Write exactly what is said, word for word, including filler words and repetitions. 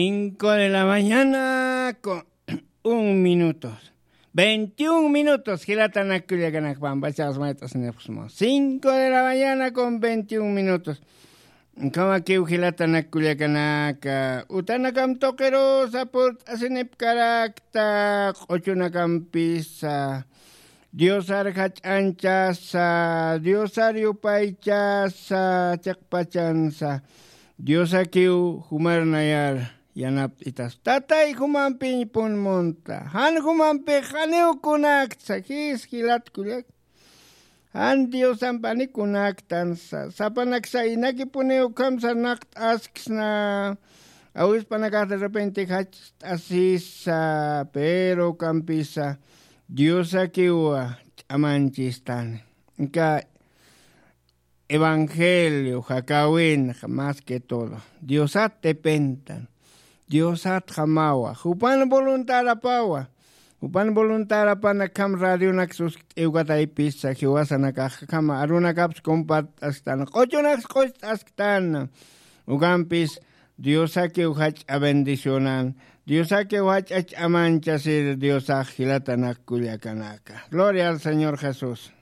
Cinco de la mañana con un minutos. Veintiún minutos, jilatanak kullakanaka, pampachax mayt'asinipxsma. Cinco de la mañana con veintiún minutos. Kamakiw jilatanak kullakanaka, utanakam tuqirusa purt'asinipkarakta, q'uchunakampisa. Diosar jach'anchasa, Diosar yupaychasa, chiqpachansa. Diosakiw jumar nayar yanapt'itas. Tatay jumampiñ pun munta. Jan jumampi janiw kunaktsa, jis jilat kullak. Jan Diosampi janiw kunaktansa. Sapanaksa inakipuniw ukham sarnaqt'asksna. Awispanakax de repente jach't'asisa, pero ukampisa Diosakiw ch'amanchistani. Inka evangelio jakäwinxa más que todo Diosat depentan. Diosat jamawa, jupan voluntarapawa. Jupan voluntarapan akham radionak suskt'iw kataypisa, jiwasanakax akham arunakapsa compart'asktan, q'uchunaksa q'ucht'asktan. Ukampis Diosakiw jach'a bendicionan, Diosakiw jach'a ch'amanchasir Diosax jilatanak kullakanaka. Gloria al Señor Jesús.